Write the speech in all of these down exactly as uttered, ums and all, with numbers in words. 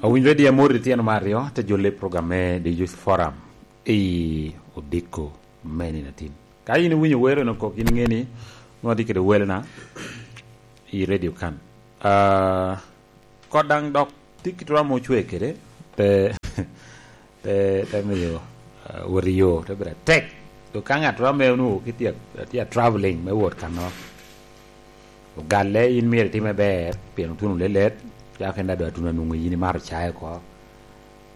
Owinyo redio amor i tyen me aryo, te jolle i program me The Youth Forum i odiko me nino atin. Ka in iwinyo wero eno kok, in iŋe ni nwa tye kede welona i redio kan. Ah, kot daŋ dok tye kit rom ocwe kede, te, te, te miyo, ah, wot i yo, te bedo atek. Dok ka ŋat rom ame onwoŋo ki tye, tye a traveling me wot kanno, ogalle, in myero itime ber, pien otuno lelet, cako en daŋ dok atuno anwoŋo yin imato caye oko,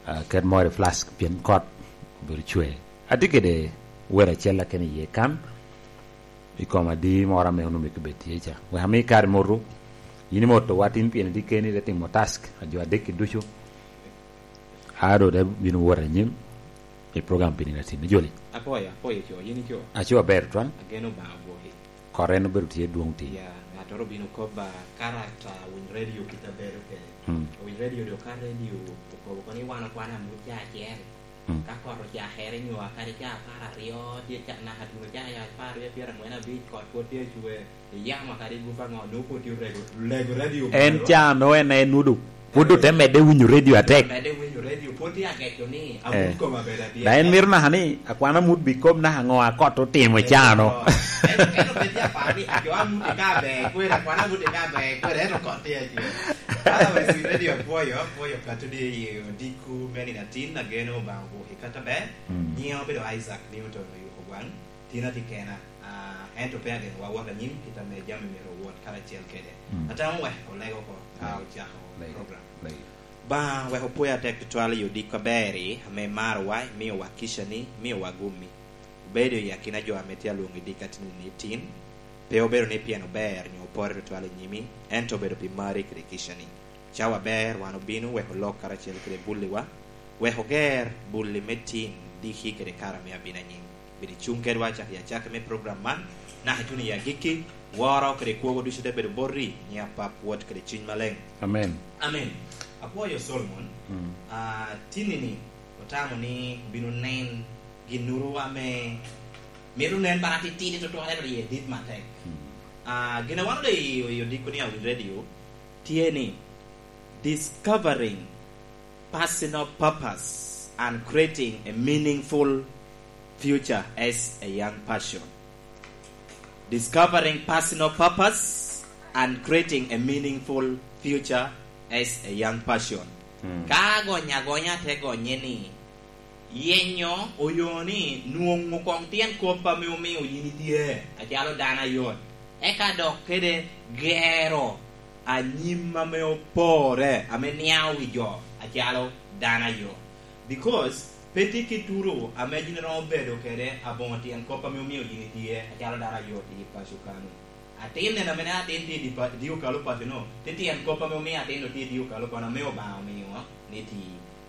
ah, ket moro i flask, pien kot obedo cwe. Atye kede wer acel akene iye kan, i kom adi moro ame onwoŋo myero bed tye ca. Wek ami kare moto, yin imoto wa tin pien itye keni, ite timo task a jo adek-ki ducu. A doŋ te bino wot anyim i program pi nino atin. Ijoli? Apwoyo, apwoyo co, yin ico? Aco aber, Twan. Ageno Obaŋa ogwoki. Kore en obedo tye dwoŋ tin. Ya, ŋattoro obino kobba, karakta, winy redio kit a bedo kede. Mm. Winy redio do, ka redio okobo kono ni wan okwana amut ca acel. Mm. Ka kot ocakere nyo akadi ca apar aryo, tye ca, naka tuno ca apar aryo, pyerangwen abic, kot pwod tye acwe, iyamo kadi gup aŋo, nwoŋo pwod tye orego, lego redio. En ca nwoŋo en, en nudo. Pwod ote medde winyo redio atek. Medde winyo redio, pwod tye ageco ni, eh, amut koma bedo adyar. Daŋ en mito naka ni akwana amut bikob naka ŋo a kot otimo i cano. En, en obed tye aparo ni, "Jo amut i ka ber, kwene, akwana amut i ka ber, kwene, ento kot tye acwe." Otherwise, wi redio apwoyo, apwoyo Katudi i odiko me nino atin, ageno Obaŋa ogwoki kata ber. Mm. Nyiŋa obedo Isaac Newton Oyuko Gwaŋ, tin atye kena. Ah, ento pe ageno wa wot anyim, kit ame jami myero owot karacel kede. Mm. Atamo wek oleg oko ka ocako program. Lego. Obaŋa wek opwoyo atek tutwal i odiko aber-ri, ame imarowa, imiowa kica-ni, imiowa gummi. Obedo i akina jo ame tye alwoŋo i dika tinini tin, pe obedo ni pien ober nyo oporre tutwal i nyimi, ento obedo pi marri kede kica-ni. Cawa aber wan obino wek olok karacel kede bulliwa, wek oger bulli me tin diki kede kare ame abino anyim. Bed icuŋ kedwa cak i acakki me program man, naka ituno i agikki, woro kede kwogo ducu te bedo boti, nyiŋ Apap, Wod kede Cuny Maleŋ. Amen. Amen. Apwoyo Solomon, mm, ah, tinini otamo ni obino nen ginnoro ame mito nen bara titidi tutwal, ento iye dit matek. Mm. Ah, gin a wan odoŋ i, i odiko ni Awiny Radio tye ni, Discovering personal purpose and creating a meaningful future as a young person. Discovering personal purpose and creating a meaningful future as a young person. Mm. Ka agonyo agonya te gonye ni, yenyo oyo ni nwoŋo koŋ tyen kop ame omio yin itye acalo dano ayot, eka dok kede gero anyim ame opore, ame niaŋ wi jo acalo dano ayot. Because pe tye kit turo ame yin iromo bedo kede aboŋo tyen kop ame omio yin itye acalo dano ayot i paco kano. Atin neno ame nen atin tye i di pa-, di okalo paco no, tye tyen kop ame omio atin no tye i di okalo kono ame Obaŋa omio ni ti.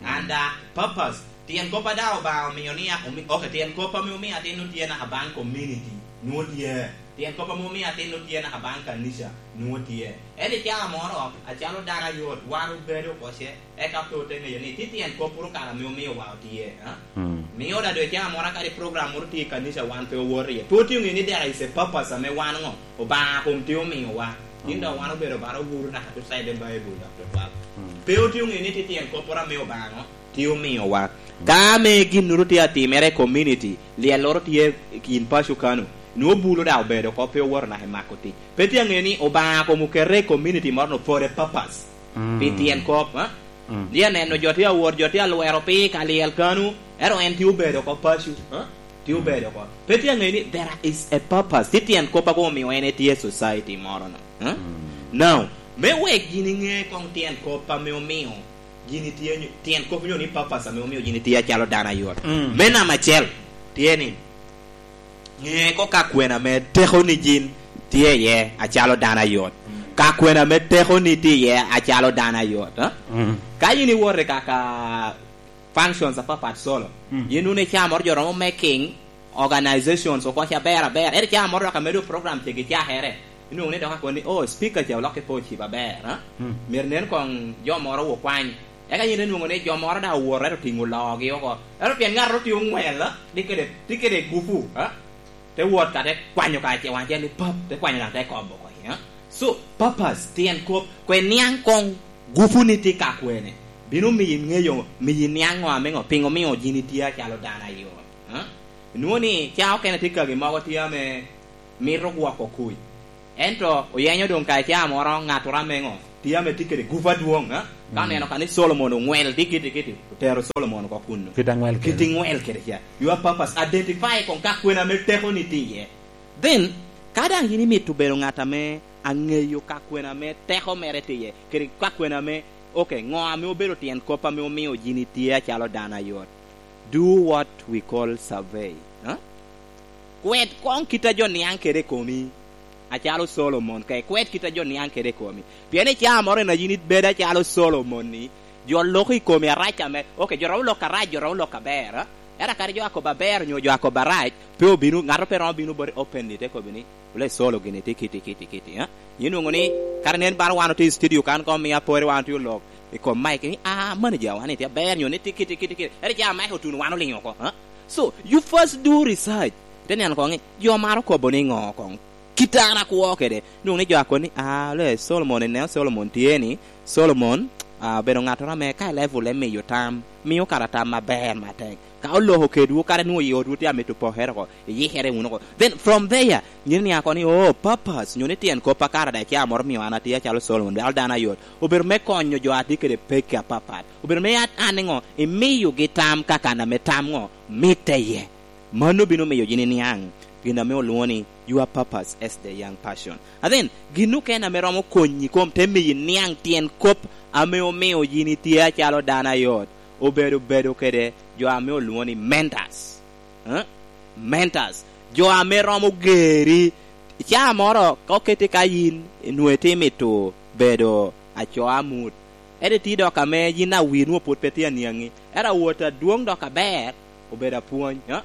Mm. And, uh, purpose, tyen kop a daŋ Obaŋa omio ni a-, omi-, ok, tyen kop ame omio atin no tye naka baŋ community, nwoŋo tye. Tyen kop ame omio atin no tye naka baŋ kanica, nwoŋo tye. Ento i cawa moro, acalo dano ayot, wan obedo oko ce, eka pe ote ŋeyo ni tye tyen kop puro kare ame omiowa otye, ha? Mm. Mio da doŋ i cawa moro kadi program moro tye i kanica wan pe owoto iye. Pe otye oŋeyo ni there is a purpose ame wan ŋo, Obaŋa kom tye omiowa. Tin dok wan obedo bara owuro naka to side Bible dok tutwal. Mm. Pe otye oŋeyo ni tye tyen kopporo ame Obaŋa ŋo tye omiowa. Ka ame ginnoro tye atimere i community, lyelloro tye i kin paco kano, nwoŋo bulo daŋ obedo oko, pe owoto naka i mako tic. Pe tye aŋeyo ni Obaŋa kom okete i community moro no for a purpose. Mm. Pi tyen kop, ha? Mm. Tye aneno jo tye awot, jo tye alwero piny ka lyel kano, ento en tye obedo oko paco, ha? Tye obedo oko. Pe tye aŋeyo ni there is a purpose. Tye tyen kop a koŋ omio en etye i society moro no, ha? Mm. Now, me wek yin iŋe koŋ tyen kop ame omio yin itye nyo-, tyen kop nyo ni purpose ame omio yin itye acalo dano ayot. Mm. Me namba acel, tye ni, ŋe ko ka kwena ame tekoni yin tye iye acalo dano ayot. Mm. Ka kwena ame tekoni tye iye acalo dano ayot, ha? Mm. Ka yin iwoto i kaka functions apapat solo, mm, yin wun i caa moro jo romo making organizations oko ca aber aber. Ento caa moro dok amedo program cegi cakere, inwoŋo ni dok akoni, "Oh, speaker ca olokke pe ocibo aber, ha?" Mm. Myero nen koŋ jo moro okwany. Eka yin inwoŋo ni jo moro daŋ owoto, ento otiŋo loogi oko. Ento pien ŋattoro tye oŋwel, tye kede, tye kede gupu, ha? Te wot ka te kwanyo ka ce wan ce ni pap, te kwanyo daŋ te kobo oko, ha? So, purpose, tyen kop, kwe niaŋ koŋ gupu ni tye ka kwene. Bino miyo iŋeyo, miyo iniaŋ ŋo ame ŋo, piŋo omio yin itye acalo dano ayot. Ha? Inwoŋo ni ca okene tye kagi mogo tye ame mito gwoko kuc. Ento oyenyo doŋ ka i ca moro ŋattoro ame ŋo, tye ame tye kede gup adwoŋ, ha? Ka oneno ka ni Solomon oŋwel tye kiti kiti, otero Solomon oko kunnu. Kit aŋwel kede. Kit iŋwel kede ca. Your purpose, identify koŋ ka kwena ame tekoni tye iye. Then, ka daŋ yin imito bedo ŋat ame aŋeyo ka kwena ame teko mere tye iye, kede ka kwena ame, ok, ŋo ame obedo tyen kop ame omio yin itye acalo dano ayot? Do what we call survey. Ha? Kwed koŋ kit a jo niaŋ kede i komi, acalo Solomon, ka ikwed kit a jo niaŋ kede i komi. Pien i caa moro en a yin ibedo acalo Solomon-ni, jo loko i komi arac ame, ok, jo romo lok arac, jo romo lok aber, ha? Ento kadi jo akobo aber onyo jo akobo arac, pe obino, ŋato pe romo bino boti openly te kobo ni, "Ole Solo gini tye kiti, kiti, kiti, ha?" Yin nwoŋo ni, kare nen bala wan otye i studio kan, koŋ mio apore wan otye olok i kom mic ni, "Ah, manager wan ni tye aber nyo ni tye kiti, kiti, kiti." Ento ca mic otuno wan oliŋo oko, ha? So, you first do research. Ite neno koŋ ni, jo maro kobo ni ŋo koŋ? Kit an akwo kede. Nwoŋo ni jo akwo ni, "Ah, le Solomon, ineno Solomon tye ni, Solomon, ah, obedo ŋattoro ame ka i level e miyo tam, miyo kara tam aber matek. Ka oloko kedwu, kara nwoŋo i otwu tye amito pokere oko, iyikere wunu oko." Then from there, nyin ni akwo ni, "Oh, purpose, nyo ni tyen kop a kara daŋ ca moro mio an atye acalo Solomon, dal dano ayot." Obedo me konyo jo a tye kede pekki apapat. Obedo me at-, an niŋo, imiyogi tam ka kan ame tam ŋo mitte iye. Mano bino miyo yin iniaŋ gin ame olwoŋo ni your purpose as the young person. And then, gin okene ame romo konyi kom te miyo iniaŋ tyen kop ame omio yin itye acalo dano ayot, obedo bedo kede jo ame olwoŋo ni mentors. Eh? Mentors. Jo ame romo geri. Caa moro, ka oketi ka yin, nwoŋo itye mito bedo acoo amut. Ento itye dok ame yin awi nwoŋo pwod pe tye aniaŋi. Ento awot adwoŋ dok aber, obedo apwony, ha?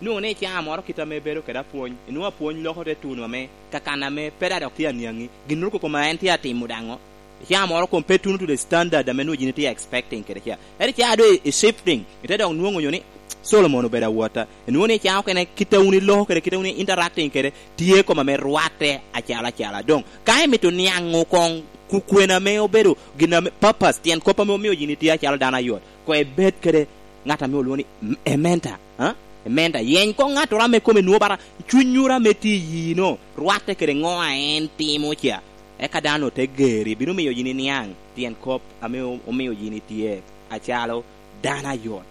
Nwoŋo ni i caa moro kit ame bedo kede apwony, inwoŋo apwony loko te tuno ame kakan ame pe daŋ dok tye aniaŋi, ginnoro koko ma en tye atimo daŋo. I caa moro kom pe tuno to the standard ame nwoŋo yin itye expecting kede ca. Ento i caa doŋ i, i shifting, ite dok nwoŋo nyo ni Solomon obedo awota. Inwoŋo ni i caa okene kit a wun iloko kede, kit a wun i interacting kede, tye kom ame rwatte acalo acala. Doŋ, ka imito niaŋo koŋ ku-, kwena ame obedo gin ame purpose, tyen kop ame omio yin itye acalo dano ayot, koŋ ibed kede ŋat ame olwoŋo ni m-, a mentor, ha? A mentor. Yeny koŋ ŋattoro ame kome nwoŋo bara cunnyoro ame tye i yino, rwatte kede ŋo a en timo ca. Eka dano te geri, bino miyo yin iniaŋ tyen kop ame o-, omio yin itye acalo dano ayot.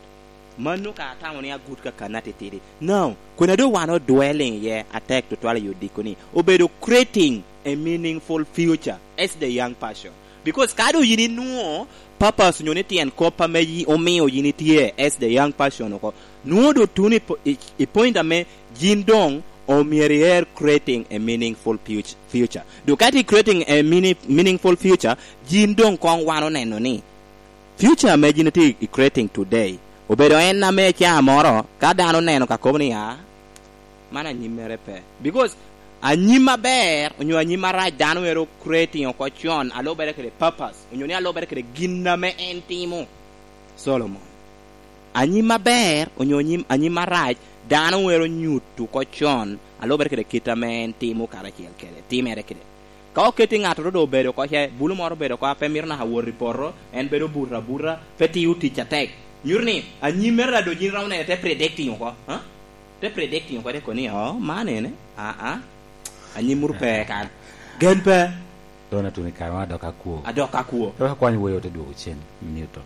Mano ka atamo ni agut kakanna titidi. Now, kwena doŋ wan odwelling iye atek tutwal i odiko ni, obedo creating a meaningful future as the young person. Because ka doŋ yin inwoŋo purpose onyo ni tyen kop ame yi-, omio yin itye as the young person oko, nwoŋo doŋ tuno i po-, i, i point ame yin doŋ omyero iher creating a meaningful fut-, future. Doŋ ka itye creating a meaning-, meaningful future, yin doŋ koŋ wan oneno ni future ame yin itye i creating today, obedo en ame i caa moro, ka dano oneno ka kobo ni, "Ah, man anyimmere pe." Because anyim aber onyo anyim arac dano ero creating oko con, alubere kede purpose, onyo ni alubere kede gin ame en timo. Solomon. Anyim aber onyo anyim, anyim arac dano ero nyuto oko con, alubere kede kit ame en timo karacel kede, timere kede. Ka oketi ŋattoro doŋ obedo oko ce, bulu moro obedo oko a pe mito naka wot i poto, en bedo obuto abuta, pe tiyo tic atek. Nyuto ni, anyimmere daŋ doŋ yin iromo nene te predicting oko, ha? Te predicting oko, te kobo ni, "Oh, man ene, ah, ah, anyim muru pe kan. Gen pe." Doŋ atuni kare wan adok akwo. Adok akwo. Pe wakwany woyo te dwogo cen, Newton.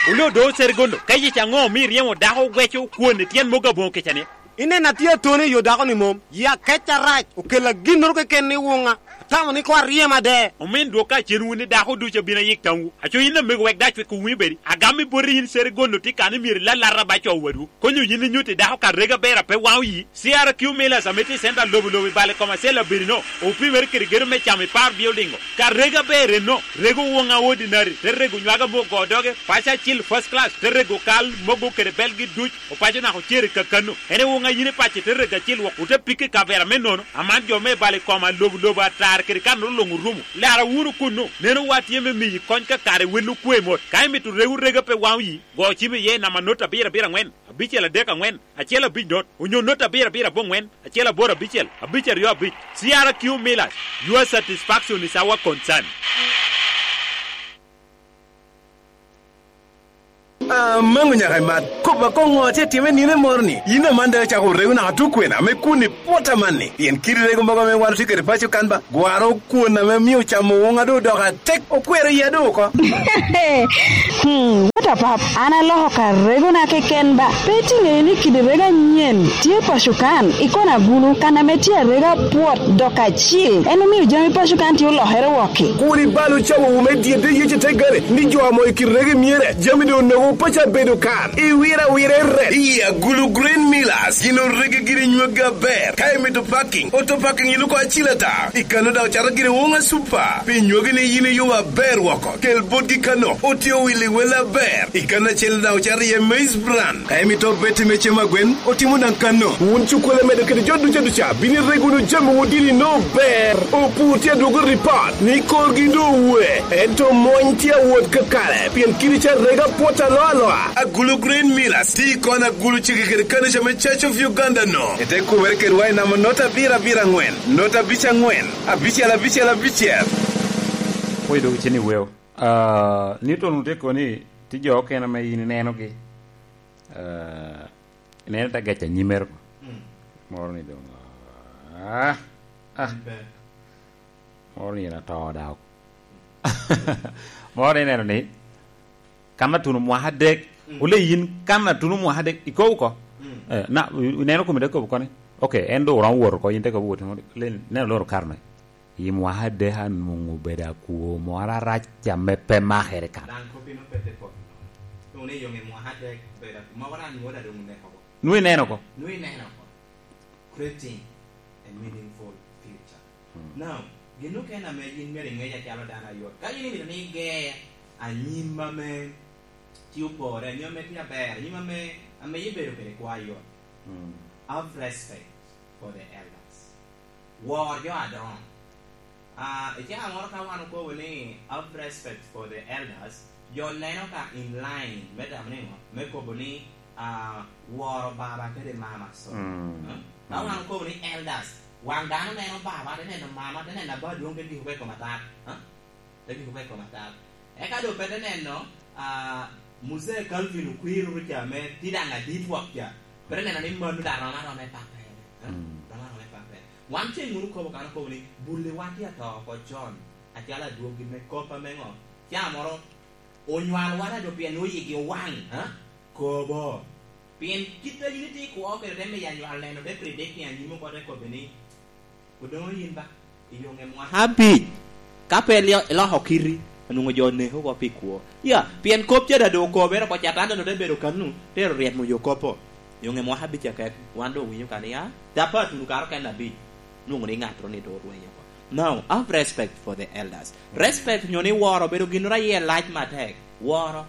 Wule odo Serigondo, ka yec aŋo omio iryemo dako oweco kwon i tyen mogo aboŋo kica ni? Ineno atye atoni i yo dako-ni mom, yi akec arac, okella ginnoro keken i wuŋa, atamo ni koŋ aryem ade. Omin dwok ka cen wun ni dako ducu abino ayik tamwu. Aco yin amego wek daŋ cwek owumi bedi. Agam i boti yin Serigondo tye kan ni myero ilalata ba co wadwu. Konyo yin inyutti dako ka rega ber a pe waŋ oyi. C R Q Millers ame tye i center lobo lobo i bal i kom acel abirino, opimere kede gedo me camo i par building-o. Ka rega ber enno, rego woŋa ordinary, te rego nywaga me ogo doge, paco acil first class, te rego kal mogo kede belgi duc, opaco naka ocer i kakano. En i woŋa yin i paco te rego acil wok, ote pike i kavera me nono, aman jo me bal i koma lobo lobo atar kede kanoro luŋ orumo. Lara wunu kunnu, neno wa tye me miyi kony ka kare wel okwe mot. Ka imito rego rega pe waŋ oyi, go cim iye i namba not abiro abiro aŋwen, abicel adek aŋwen, acel abic not, onyo not abiro abiro aboŋwen, acel aboro abicel, abic aryo abic. C R Q Millers, your satisfaction is our concern. Amaŋo nyaka i mat. Kop akoŋ ŋo tye time nino moro ni? Yin aman daŋ icako rego naka tukwena me kun i pwot amanni. Pien kidi rego mogo ame wan otye kede paco kan ba, gwaro kwon ame mio camo woŋa doŋ odoko atek, okwero iya doŋ oko. Hmm, what a pap, an aloko ka regona keken ba. Pe itiŋeyo ni kidi rego anyen tye paco kan, i kona gulu, kan ame tye arega pwot dok acil. En omio jami paco kan tye olokere wokki. Kur ibal ocawo wu me dyedde yece te gare, ni jo amo i kidi rego myere, jami doŋ onogo paco abedo kan. Iwira awira i ret. Iya, gulu Green Millers, gin orege giri nyweggi aber. Ka imito parking, auto parking iluko acil ata. I kano daŋ ocato giri woŋa super. Pi nywegi ni yin iyubo aber woko, kel botgi kano, otye owili wel aber. I kano acel daŋ ocato iye maize bran. Ka imito obeti me cem agwen, otimo daŋ kano. Wun cukkole medo kede jo duca duca, bino irego wunu jami wun dini no ber. Opur tye adwogo ripot ni korgi doŋ owe, ento mony tye awot kakare, pien kidi ca rega pwot aloa aloa. Agulu Green Millers, ti kon agulu cege kede kanica me Church of Uganda no. Ete kubere kedwa i namba nota abiro abiro angwen, nota abic angwen, abicel abicel abicel. Pwod dok icen i weo. Ah, ni to nu te koni, ti jo okene ame in inenogi. Ah, ineno te gec anyimere ko. Mm. Moro ni doŋ, ah, ah. Ber. Moro ni en ato daŋ. Moro ni ineno ni, kan atuno mwaka adek, mm, ole yin kan atuno mwaka adek, ikobo ko? Mm. Eh, na, ineno kome te kobo koni? Ok, en doŋ oromo wot oko, yin te kobo wot, le, neno loro karne. I mwaka adek anwoŋo obedo akwo moro arac ame pe makere kan. Daŋ kop ino pe te kop. Doŋ ni yoŋ i mwaka adek bedo akwo. Ma wan anwoŋo da doŋ oneko ko. Nwoŋo ineno ko? Nwoŋo ineno ko. Creating a meaningful future. Hmm. Now, gin okene ame yin myero iŋec acalo dano ayot. Ka yin imito ni iger anyim ame tye opore, anyim ame tye aber, anyim ame, ame ibedo kede kwo ayot. Hmm. Have respect for the elders. Wor jo adoŋo. Ah, i caa moro ka wan okobo ni, "Have respect for the elders," jo neno ka in line me tamo ni ŋo? Me kobo ni, ah, woro baba kede mama, so. Mm. Eh? Ka, mm, wan okobo ni elders, waŋ dano neno baba, te neno mama, te neno aba adwoŋ, te giko i kom atat. Eh? Te giko i kom atat. Eka doŋ pe te neno, ah, Muzee Calvin Okwiri ca ame tye daŋ adit wok ca. Pe te neno ni mano daŋ rom aroma i pappere. Eh? Mm. Rom aroma i pappere. Wan ceŋ wunu kobo kan okobo ni, "Bulliwa tye ato oko con, acalo adwoggi me kop ame ŋo? Caa moro onywal wan ado pien nwoŋo yigi owaŋ, ha? Kobo." Pien kit a yin itye i kwo kede te miyo anywal neno, te predict ni anyim oko te kobbe ni, "Odoŋo yin ba, i yoŋe mwaka abic, ka pe ilio-, iloko kiti, onwoŋo jo oneko oko pi kwo." Ya, pien kop ca daŋ doŋ okobere oko, Catan daŋ doŋ te bedo kanu, tero ryemo yo kop-po. Yoŋe mwaka abic akek, wan doŋ owinyo ka ni, a, tapa atuno kare okene abic, nwoŋo ni ŋattoro ni doŋ orwenyo oko. Now, have respect for the elders. Respect nyo ni woro obedo ginnoro aye lac matek. Woro.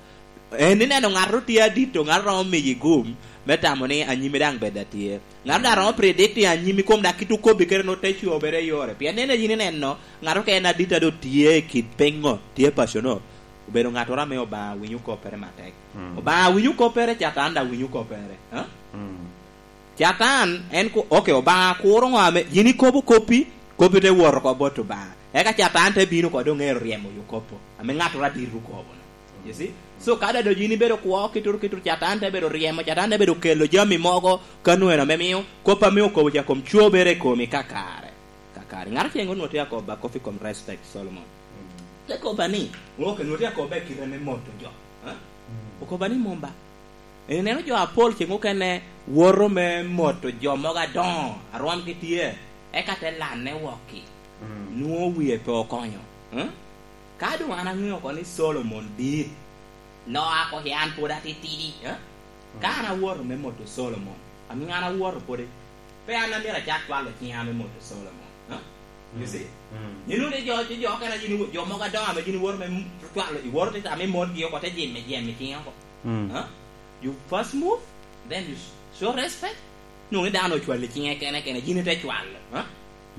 En ineno ŋattoro tye adito, ŋattoro romo miyi gum, me tamo ni anyimi daŋ bed atye. Ŋattoro daŋ romo predict ni anyimi kom daŋ kit okobbi kede no te cobere i yore. Pien en ayin ineno, ŋattoro ka en adito a doŋ tye i kit piny ŋo, tye paco no. Obedo ŋattoro ame Obaŋa winyo koppere matek. Mm. Obaŋa winyo koppere, Catan daŋ winyo koppere. Ha? Mm. Catan, en ku-, ok, Obaŋa kuro ŋo ame, yin ikobo koppi, koppi te wot oko bot Obaŋa. Eka Catan te bino oko doŋ ero ryemo yo kop-po, ame ŋattoro adit okobo no. You see? So, ka daŋ doŋ yin ibedo kwo, kituru, kituru, Catan te bedo ryemo, Catan te bedo kelo jami mogo, ka nweno ame mio, kop ame okobo ca kom cobere i komi kakare. Kakare. Ŋat acel onwoŋo tye akobo ba kop i kom respect, Solomon. Mm. Te kobba ni, ok, onwoŋo tye akobo ba i kite me moto jo. Ha? Mm. Okobba ni mom ba. Ineno jo apol ceŋ okene woto me moto jo mogo adoŋo, a rwomgi tye, eka te lanne wokki. Mm. Nwoŋo wie pe okonyo. Ha? Ka doŋ an aŋeo oko ni Solomon dit, loo oko i an pwod atitidi, eh? Ka an awoto me moto Solomon, amiŋo an awoto pwod, pe an amito acak cwalo ciŋa me moto Solomon, eh? You see? Mm. Yin wunu jo, jo, jo okene, yin iwo-, jo mogo adoŋo ame yin iwoto me m-, cwalo, iwoto te tamo imotgi oko, te jemme, jemme ciŋe oko. Mm. Eh? You first move, then you sh-, show respect. Nwoŋo ni dano ocwalo ciŋe kene kene, yin ite cwalo, eh?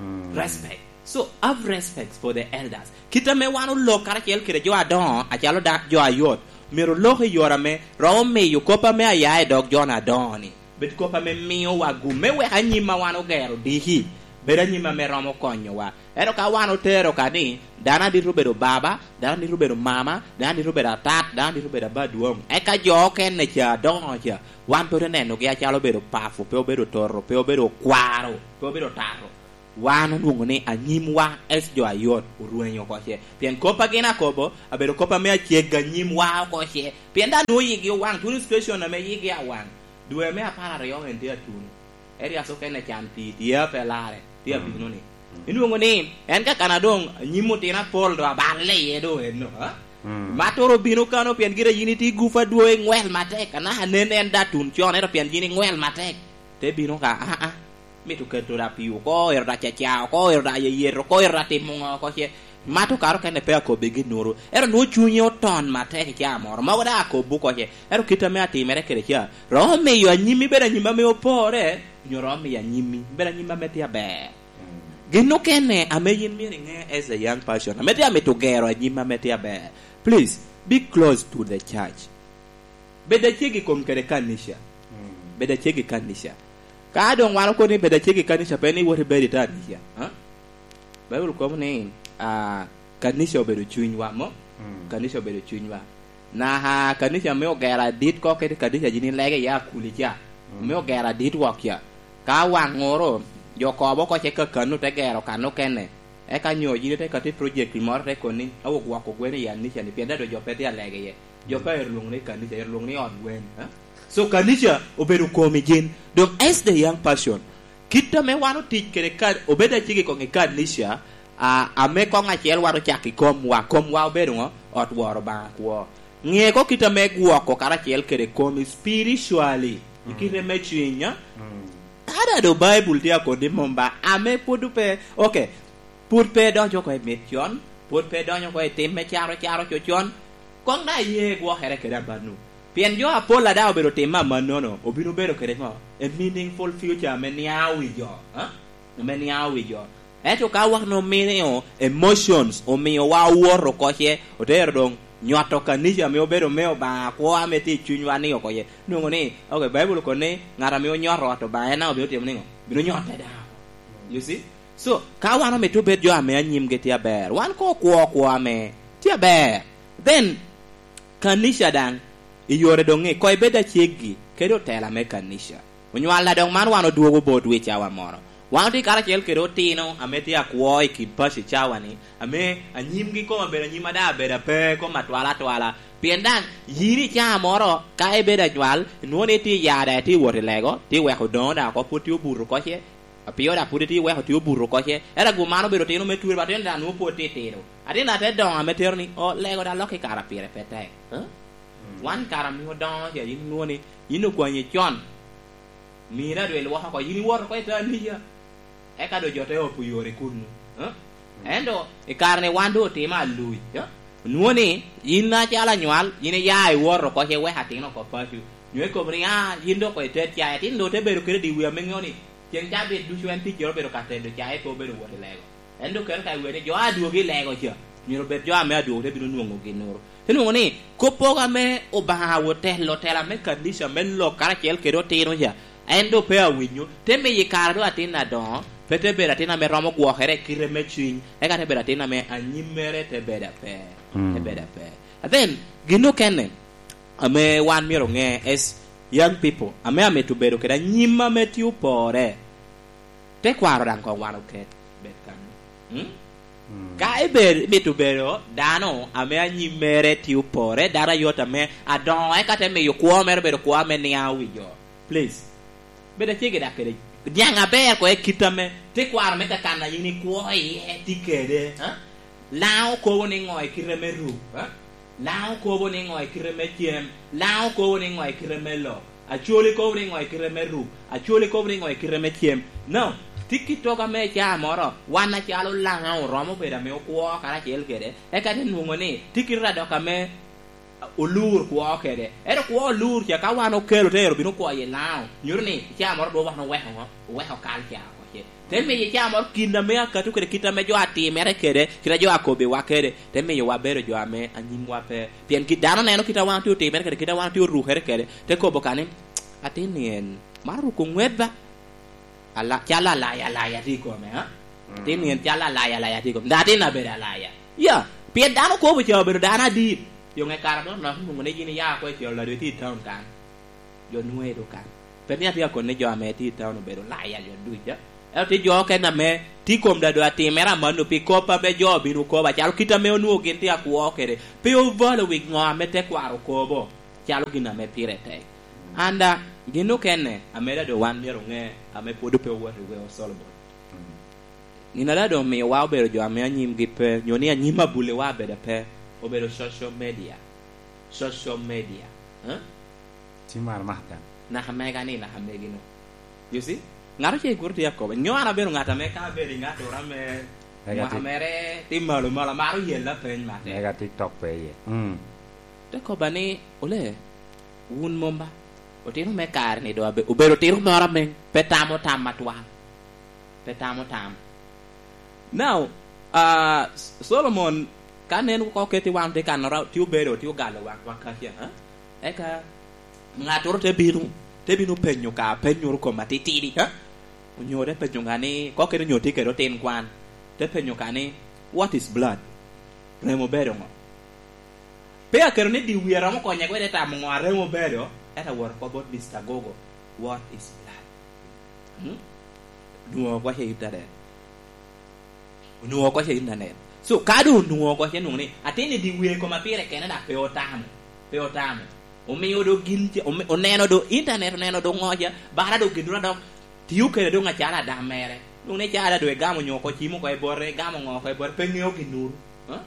Mm. Respect. So, have respect for the elders. Kit ame wan olok karacel kede jo adoŋo, acalo da-, jo ayot, myero olok i yore ame romo miyo kop ame aya i dog jo adoŋo-ni bed kop ame miyowa gum me wek anyim a wan ogero diki bedo anyim ame romo konyowa. Ento ka wan otero ka ni, dano adito obedo baba, dano adito obedo mama, dano adito obedo atat, dano adito obedo aba adwoŋ, eka jo okene ca, adongo ca, wan pe ote nenogi acalo obedo papo, pe obedo toto, pe obedo okwaro, pe obedo otato. Wan onwoŋo ni anyimwa es jo ayot orwenyo oko ce. Pien kop a gin akobo, abedo kop ame aceg anyimwa oko ce. Pien dano nwoŋo yigi owaŋ, tuno station ame yigi awaŋ. Dwe me apar aryo en tye atuno. Erias okene can pi tye pe lare, tye abino ni. Inwoŋo ni, en ka kana doŋ anyim otino apol do aballe iye do eno, ha? Matoro obino kano pien gire yin itye gufa dwe ngwel matek, anaka nen en da tun con, ento pien yin ingwel matek. Te bino ka, ah, ah. Mito keto da pi oko, ero da caca oko, ero da yeyet oko, ero da timo ŋo oko ce. Mato karo kene pe akobbi gin nuru. Ero nwoŋo cunye oton matek i caa moro. Mogo da akobbu oko ce. Ero kit ame atimere kede ca. Romo miyo anyimmi bedo anyim ame opore, nyo romo miyo anyimmi bedo anyim ame tye aber. Gin okene ame yin myero iŋe as a young person, ame tye amito gero anyim ame tye aber. Please, be close to the church. Bed aceg i kom kede kanica. Bed aceg i kanica. Ka doŋ wan okobo ni bed aceg i kanica, pe ni iwot ibed i kanica. Ha? Baibul kobo ni, ah, kanica obedo cunywa, mo? Kanica obedo cunywa. Naka kanica me ogero adit ko kede kanica yin ilege iye akuli ca. Me ogero adit wok ca. Ka waŋ oro, jo kobo oko ce kakano te gero kan okene. Eka nyo yin ite kati project moro te koni, "Awo gwoko gwen i kanica ni, pien dado jo pe tye alege iye." Jo pe ero lwoŋo ni kanica, ero lwoŋo ni ot gwen. Eh? So kanica obedo komi gin. Doŋ as the young person, kit ame wan otic kede ka, obed acik i koŋ i kanica, a, ame koŋ acel wan ocako i komwa, komwa obedo ŋo? Ot woro Obaŋa kwo. Ŋe ko kit ame gwoko karacel kede komi spiritually, i kite me cwiny, a? Ada do Baibul tye akoni mom ba, ame pwod pe, okay, pwod pe idonyo oko i mit con, pwod pe idonyo oko i tim me caro caro co con, koŋ daŋ iye gwokere kede amanno. Pien jo apol a daŋ obedo timme amannono, obino bedo kede ŋo? A meaningful future ame niaŋ wi jo, ha? Ame niaŋ wi jo. Ento ka wan omio emotions, omiowa owoto oko ce, otero doŋ nyoto kanica ame obedo me Obaŋa kwo ame tye i cunywa ni oko ce. Nwoŋo ni, okay, Baibul okobo ni ŋat ame onyoto ot Obaŋa en daŋ obino timo niŋo? Bino nyotte daŋ. You see? So, ka wan omito bed jo ame anyimgi tye aber, wan koŋ okwo kwo ame tye aber. Then, kanica daŋ, i yore doŋ ni, koŋ ibed aceggi kede otela me kanica. Onywal a doŋ man wan odwogo botwu i cawa moro. Wan otye karacel kede otino ame tye akwo i kin paco i cawa-ni, ame anyimgi kome obedo anyim a daŋ abedo ape, kome atwal atwala. Pien daŋ yin i caa moro, ka ibedo anywal, inwoŋo ni itye i yada, itye i wot i lego, tye i weko odoŋo daŋ oko pwod tye obuto oko ce, apio daŋ pwod itye i weko tye obuto oko ce. Ento agu man obedo otino me twere, ba otino daŋ nwoŋo pwod tye tino. Atin daŋ te doŋo ame tero ni, "O, lego daŋ lok i kare pire pe tek." Huh? Wan kare ame odoŋo ce, yin inwoŋo ni, yin okwanyi con. Mira dwe lwoko oko, yin iwoto oko i te aniya. Eka doŋ jo te opo yore kunnu. Eh? Ento i kare ni wan doŋ otimo aluc, eh? Onwoŋo ni yin acalo anywal, yin iya iwoto oko ce iweko atin oko paco. Nyo ikobo ni, "Ah, yin doŋ oko ited cai." Atin doŋ te bedo kede diwi ame ŋeo ni ceŋ cabit ducu en ticcere obedo ka tedo cai, pe obedo wot i lego. En doŋ keto ka i wer ni jo a dwogo i lego ca, myero obed jo ame adwogo te bino nwoŋo ginnoro. Te nwoŋo ni, kop pogo ame Obaŋa otelo, otela me kanica me lok karacel kede otino ca, en doŋ pe awinyo, te miyo i kare doŋ atin adoŋo, pe te bedo atin ame romo gwokere i kite me cwiny, eka te bedo atin ame anyimmere te bedo ape, te bedo ape. And then, gin okene ame wan myero oŋe as young people, ame amito bedo kede anyim ame tye opore, tekwaro daŋ koŋ wan oket bed kanyo. Hmm? Ka ibed, imito bedo dano ame anyimmere tye opore, dano ayot ame adoŋo, eka te miyo kwo mere obedo kwo ame niaŋ wi jo. Please. Bed acege dak kede niaŋ aber ko i kit ame tekwaro me kakan a yin ikwo iye tye kede, ha? Laŋo kobo ni ŋo i kite me ruk, ha? Laŋo kobo ni ŋo i kite me cem? Laŋo kobo ni ŋo i kite me lok? Acwoli kobo ni ŋo i kite me ruk? Acwoli kobo ni ŋo i kite me cem? No, tye kit togo ame i caa moro, wan acalo Laŋo oromo bedo ame okwo karacel kede, eka te nwoŋo ni tye kit adok ame olur kwo kede. Ento kwo olur ca ka wan okelo te ero bino kwo i Laŋo, nyuto ni i caa moro dwon wan oweko ŋo? Oweko kal ca oko ce. Te miyo i caa moro kin ame akato kede kit ame jo atimere kede, kit a jo akobbiwa kede, te miyo wabedo jo ame anyimwa pe. Pien kit dano neno kit a wan otye otimere kede, kit a wan otye orukere kede, te kobo ka ni, "Atin ni en, maro ruko ŋwet ba?" Ala-, calo alaya, alaya tye i kome, ha? Mm. Atin en calo alaya, alaya tye i kome. Dok atin abedo alaya. Ya, pien dano kobo ca obedo dano adit. Yo ŋe kara dok nok nwoŋo ni yin iya oko i col, ladwe tye i town kan. Jo nwoŋo edo kan. Pe ni atye ka koni jo ame tye i town obedo laya jo duc, ha? Ento tye jo okene ame tye i kom dado atimere amanno pi kop ame jo obino kobo, acalo kit ame onwoŋo gin tye akwo kede. Pe ovalo wi ŋo ame tekwaro okobo, calo gin ame pire tek. Anda, gin okene ame dado wan myero oŋe, ame pwod pe owoto i weo Solomon. Mm. Gin a dado omiowa obedo jo ame anyimgi pe, nyo ni anyim abulliwa abedo pe, obedo social media. Social media. Huh? Ci mar maka. Naka mega ni, naka megi no. You see? Ŋat ocel kuro tye akobo. Nyo an abedo ŋat ame ka abedo i ŋat ora me Mega mwaka ti- mere tye malo malo, amaro yella peny matek. Mega TikTok pe iye. Mm. Te kobba ni, "Ole, wun mom ba? Otino me kare ni do abe-, obedo otino moro ame pe tamo tam atwal." Pe tamo tam. Now, ah, S-, Solomon, ka nen oko keti wan tye kanora, tye obedo, tye ogalo wak, wak kaca, ha? Eka ŋattoro te bino, te bino penyo ka, penyo ru kom atitidi, ha? Onyo te penyo ka ni, kokene onyo tye kede otin kwan, te penyo ka ni, "What is blood? Remo bedo ŋo?" Pe aketo ni di wie romo konye kwede tamo ŋo a remo bedo, ento awot oko bot Mister Google, "What is blood?" Hmm? Onwoŋo oko ce internet. Onwoŋo oko ce internet. So, ka doŋ onwoŋo oko ce nwoŋo ni, atin i di wie koma pire kene dok pe otamo. Pe otamo. Omio do gin ce, ome-, oneno do internet, oneno do ŋo ca, bara do gin dura dok tio kede doŋ acalo adam mere. Nwoŋo ni calo adwe gamo nyo oko cimo oko i bote, gamo ŋo oko i bote, pe ŋeo gin nuru. Huh?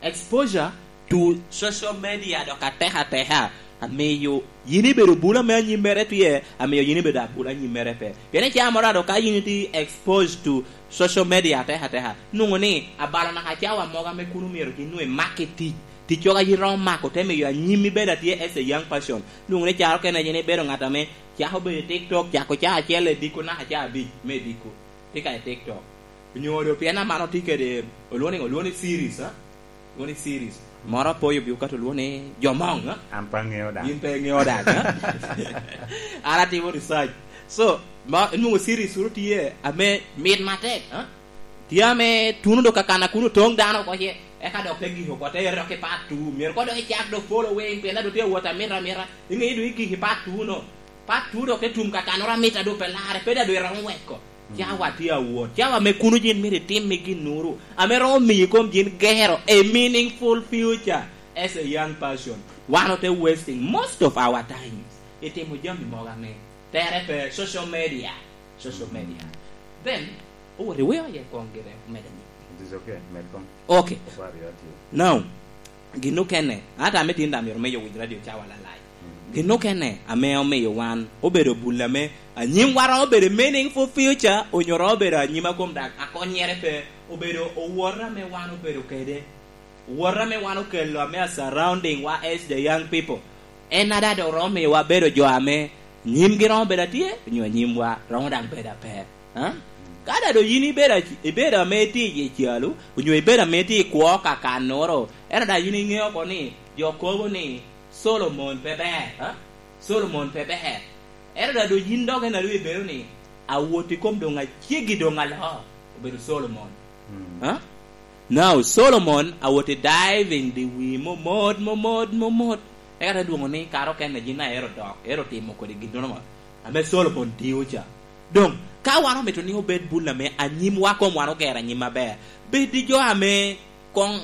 Exposure to social media dok atek ateka, amiyo yin ibedo bula me anyimmere tye, amiyo yin ibedo abula anyimmere pe. Pien i cawa moro ado ka yin itye exposed to social media atek ateka, nwoŋo ni abalo naka cawa mogo ame kun omyero gin nwoŋo imak i tic, ticcogo a yin romo mako te miyo anyimmi bedo atye as a young person. Nwoŋo ni caro kene yin ibedo ŋat ame cako bedo i TikTok, cako caa acel i diko naka caa abic me diko. Tye ka i TikTok. Onyo do pien aman otye kede, olwongo ni, olwongo ni series, ha? Olwongo ni series. Moro apoyo bi okato olwongo ni Jomoŋ, ha? An pe aŋeo daŋ. Yin pe iŋeo daŋ, ha? An atimo research. So, ma, nwoŋo series ru tye ame mit matek, ha? Tye ame tuno do kakana kun otoŋ dano oko ce, eka dok te gik oko, te ero ki part two. Myero kono dok icak do following, pien dok tye awot amita amita. Iŋeyo do igik i part two no. Part two dok te tum kakanoro amita do pe larre, pe daŋ do iromo weko. Mm. Cawa tye awot. Cawa me kuno yin myero itim i ginnoro ame romo miyo kom yin gero a meaningful future as a young person. Wan ote wasting most of our times i timo jami mogo ame tere pe, social media. Social media. Then, owot iweo aye kong gire, omeda ni. It is okay, med kong. Okay. Okwar yo atye. Now, gin okene, ata ame tin daŋ myero me yowiny radio cawa lalai. Mm. Gin okene ame omiyo wan obedo bul ame anyimwa romo bedo meaningful future, onyo romo bedo anyim a kom dak akonyere pe, obedo owot ame wan obedo kede. Wot ame wan okelo ame a surrounding wa as the young people, en ada dok romo miyowa bedo jo ame nyimgi romo bedo atye, onyo nyimwa romo daŋ bedo ape. Ha? Ka ada do yin ibedo ac-, ibedo ame itye i calu, onyo ibedo ame itye i kwo kakannoro, en ada yin iŋeo oko ni jo kobo ni Solomon pe ber, ha? Solomon pe ber. Ento da doŋ yin dok en a doŋ ibedo ni, awot i kom doŋ aceggi doŋ aloo, obedo Solomon. Mm. Ha? Now, Solomon awot i diving the wi momot, momot, momot. Eka te dwoŋo ni, kara okene yin a ero dok, ero timo kodi gin nono ame Solomon tio ca. Doŋ, ka wan omito ni obed bul ame anyimwa kom wan ogero anyim aber, bed i jo ame koŋ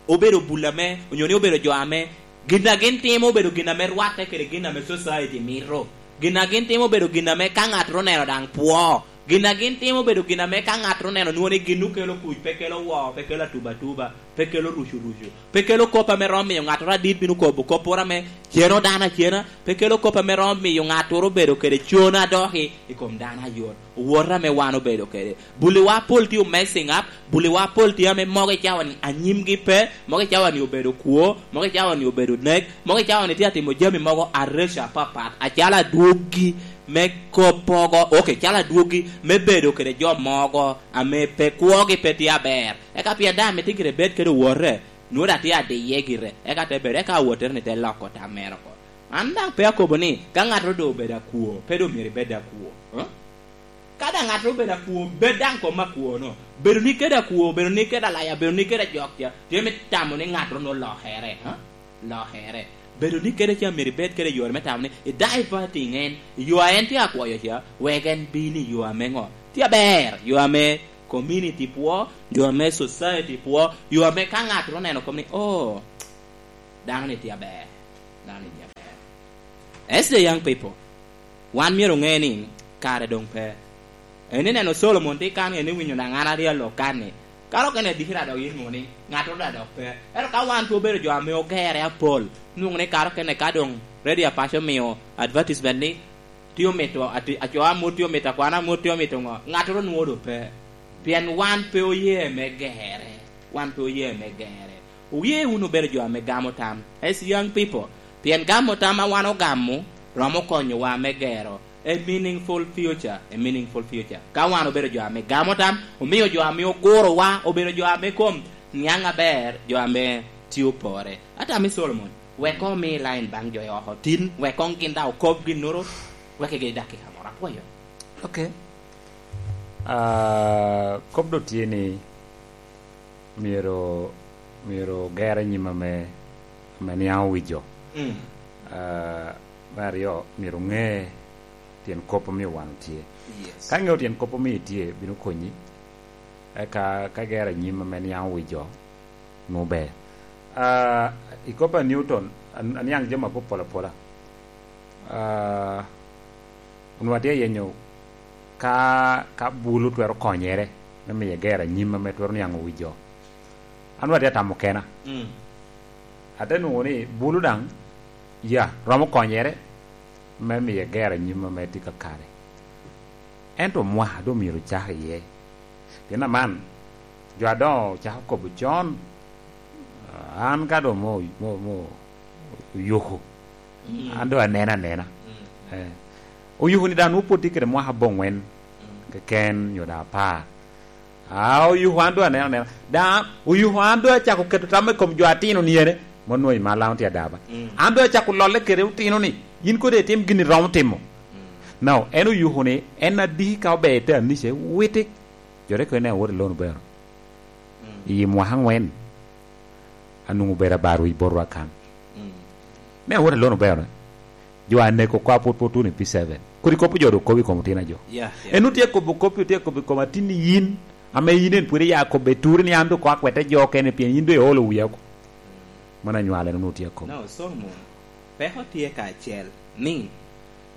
obedo bul ame, onyo ni obedo jo ame gin a gin timo obedo gin ame rwatte kede gin ame society mito. Gin a gin timo obedo gin ame ka ŋattoro oneno daŋ pwo. Gin a gin timo obedo gin ame ka ŋattoro oneno nwoŋo ni gin okelo kuc, pe kelo woo, pe kelo atubatuba, pe kelo rucurucu, pe kelo kop ame romo miyo ŋattoro adit bino kobo kopporo ame ceno dano acena, pe kelo kop ame romo miyo ŋattoro obedo kede cono adoki i kom dano ayot. Wot ame wan obedo kede. Buliwa pol tye messing up, buliwa pol tye ame mogo i cawa-ni anyimgi pe, mogo i cawa-ni obedo kwo, mogo i cawa-ni obedo nek, mogo i cawa-ni tye atimo jami mogo areco apapat, acalo adwoggi me kop mogo, ok, calo adwoggi me bedo kede jo mogo ame pe kwogi pe tye aber. Eka pien daŋ mitte gire bed kede owote, nwoŋo daŋ tye adiye gire, eka te bedo, eka awottere-ni te loko tam mere oko. An daŋ pe akobo ni ka ŋattoro doŋ obedo akwo, pe doŋ myero ibed akwo. Huh? Ka daŋ ŋattoro obedo akwo, bed daŋ kom akwono. Bedoni kede akwo, bedoni kede alaya, bedoni kede ajok ca, tye me tamo ni ŋattoro nwoŋo lokere, ha? Lokere. Bedoni kede ca myero ibed kede yore me tamo ni i diverting en, i yo a en tye akwoyo ca, wek en bin i yo ame ŋo? Tye aber, yo ame community pwo, yo ame society pwo, yo ame ka ŋattoro oneno kom ni, "Oh, dano-ni tye aber, dano-ni tye aber." As the young people, wan myero oŋe ni kare doŋ pe. En ineno Solomon tye kan, en iwinyo daŋ an aryo alok kan ni, kare okene adikira dok yin nwoŋo ni ŋattoro daŋ dok pe. Ento ka wan pe obedo jo ame ogere apol, nwoŋo ni kare okene ka doŋ radio apaco omio advertisement ni tye omito ati-, aco amut tye omito, akwano amut tye omito ŋo, ŋattoro nwoŋo doŋ pe. Pien wan pe oye me gere. Wan pe oye me gere. Wuye wunu bedo jo ame gamo tam, as young people, pien gamo tam a wan ogamo romo konyowa me gero a meaningful future, a meaningful future. Ka wan obedo jo ame gamo tam, omio jo ame ogurowa obedo jo ame kom niaŋ aber, jo ame tye opore. Atamo ni Solomon, wek omi line baŋ jo i oko tin, wek koŋ gin daŋ okob ginnoro, wek igi dakika moro. Apwoyo. Ok. Ah, kop doŋ tye ni, myero, myero oger anyim ame, ame niaŋ owijo. Mm. Ah, me aryo, myero oŋe tyen kop omio wan otye. Yes. Ka iŋeo tyen kop omio itye, bino konyi. Eka ka igero anyim ame niaŋ owijo, nwoŋo ber. Ah, i kop a Newton, an-, aniaŋ jami apol apola. Ah, onwoŋo atye ayenyo ka, ka bulu twero konyere me miyo egero anyim ame twero niaŋ owijo. An onwoŋo atye atamo kena. Mm. Ate nwoŋo ni bulu daŋ, ya, romo konyere me miyo egero anyim ame tye kakare. Ento mwaka doŋ myero ocak iye. Pien aman, jo a doŋ ocako kobo con, an ka doŋ mo, mo, mo, oyuku, mm, an doŋ aneno anena. Mm. Eh. Oyuku ni daŋ nwoŋo pwod tye kede mwaka aboŋwen, mm, keken, nyo daŋ apar. Ah, oyuku an doŋ aneno anena. Daŋ oyuku an doŋ acako keto tam i kom jo atino ni ene, ma onwoŋo i Malaŋ tye adaba. Mm. An doŋ acako lolle kede otino ni, yin kodi itim gin iromo timo. Mm. Now, en oyuku ni, en adiki ka ober i te anica, witi. Jo te kono ni awot i lono bero. Mm. I mwaka aŋwen, anwoŋo obedo abar wic botwa kan. Mm. Me awot i lono bero, jo aneko oko apwot pwot tuno i P seven. Kodi kop jo doŋ kobo i kom otino a jo. Yeah, yeah. En otye kobo kop, otye kobo i kom atin ni yin, ame yin en pwod iya kobo i turi ni an doŋ ko akwete jo okene pien yin doŋ iolo wiya oko. Mm. Mano anywale en onwoŋo tye akobo. No, Solomon, peko tye kacel ni,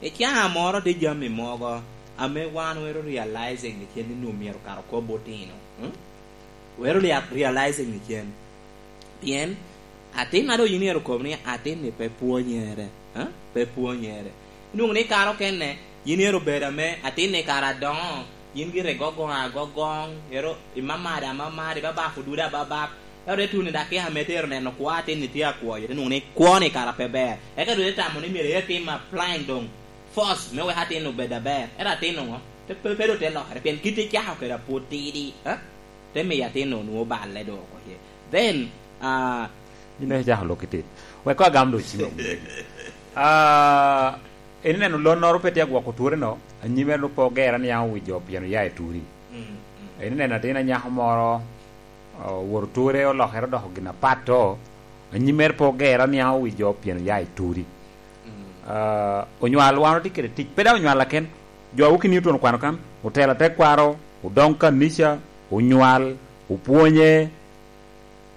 i caa moro tye jami mogo ame wan wero realizing ni cen ni nwoŋo myero kara okob otino. Hmm? Wero lia-, realizing ni cen. Pien atin ma doŋ yin myero okob ni atin ni pe pwonyere. Ha? Pe pwonyere. Inwoŋo ni kare okene, yin myero obed ame atin ni kara adoŋo, yin gire gogoŋ agogoŋ, ero imamado amamado, ibabafo dude ababap. Ero te tuno i dakika me tero neno kwo atin ni tye akwoyo, te nwoŋo ni kwo ni kara pe ber. Eka doŋ te tamo ni myero itim applying doŋ force me wek atin obed aber. Ero atin oŋo? Pe, pe, pe doŋ te lokere, pien kit icako kede apwod tidi, ha? Te miyo atin-nu nwoŋo balle doŋ oko iye. Then, ah, yin daŋ icako lok itit. Wek koŋ agam doŋ cim awobi. Ah, en ineno lonnoro pe tye agwoko tureno, anyimere doŋ pe ogera ni an owic jo pien oya i turi. Mm, mm. En ineno atin anyako moro, ah, owoto ture olokere odoko gin apat to, anyimere pe ogera ni an owic jo pien oya i turi. Mm. Ah, onywal wan otye kede tic, pe daŋ onywal aken, jo a Woki Newton okwano kan, otelo atekwaro, odoŋ kanica, onywal, opwonye,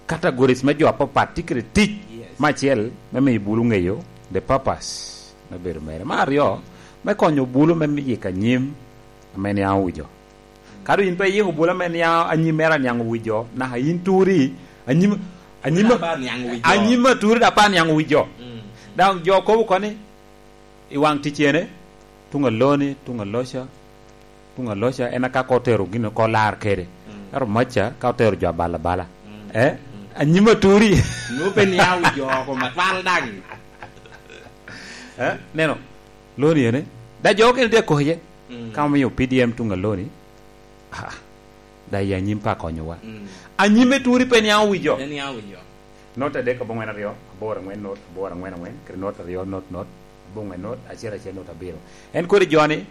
categories me jo apapat tye kede tic, yes, me acel me miyo bulu ŋeyo the purpose me bedo mere. Me aryo, me konyo bulu me yiko anyim ame niaŋ owijo. Ka doŋ yin pe iyiko bulu ame niaŋ, anyim mere aniaŋ owijo, naka yin turi, anyim, anyim, turi daŋ pe aniaŋ owijo. Anyim a turi daŋ pe aniaŋ owijo. Mm. Daŋ jo kobo koni, i waŋ ticene, tuŋ aloni, tuŋ aloca, tuŋ aloca, en aka ka otero gin oko lar kede. Mm. Ento maca ka otero jo abal abala. Mm. Eh? Mm. Anyim aturi. Nwoŋo pe niaŋ wi jo oko matwal daŋ. Eh? Neno, loni ene. Da jo okene tye akoke. Mm. Ka omiyo P D M tuŋ aloni, ah, da i anyim pe akonyowa. Mm. Anyim me turi pe niaŋ wi jo. Pe niaŋ wi jo. Not adek aboŋwen aryo, aboro aŋwen not, aboro aŋwen aŋwen, kede not aryo not not, aboŋwen not, acel acel not abiro. En kodi joni,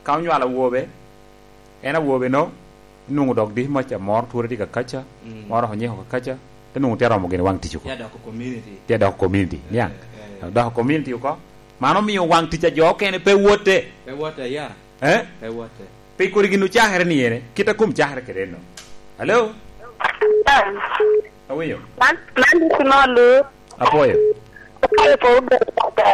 ka onywalo awobe, En awobe no, inwoŋo dok diki mac amor twore tye kakaca, mm, moro onyeko kakaca, te nwoŋo tye aromo gin waŋ tic oko. Tye adoko community. Tye adoko community, niaŋ. Eh, eh. Dok doko community oko, man omio waŋ tic a jo okene pe wote. Pe wote, ya. Eh? Pe wote. Pe kodi gin ocakere ni ene, kit a kom cakere kede eno. Hello? Awinyo? Man, man dok nolu. Apwoyo. Apwoyo po.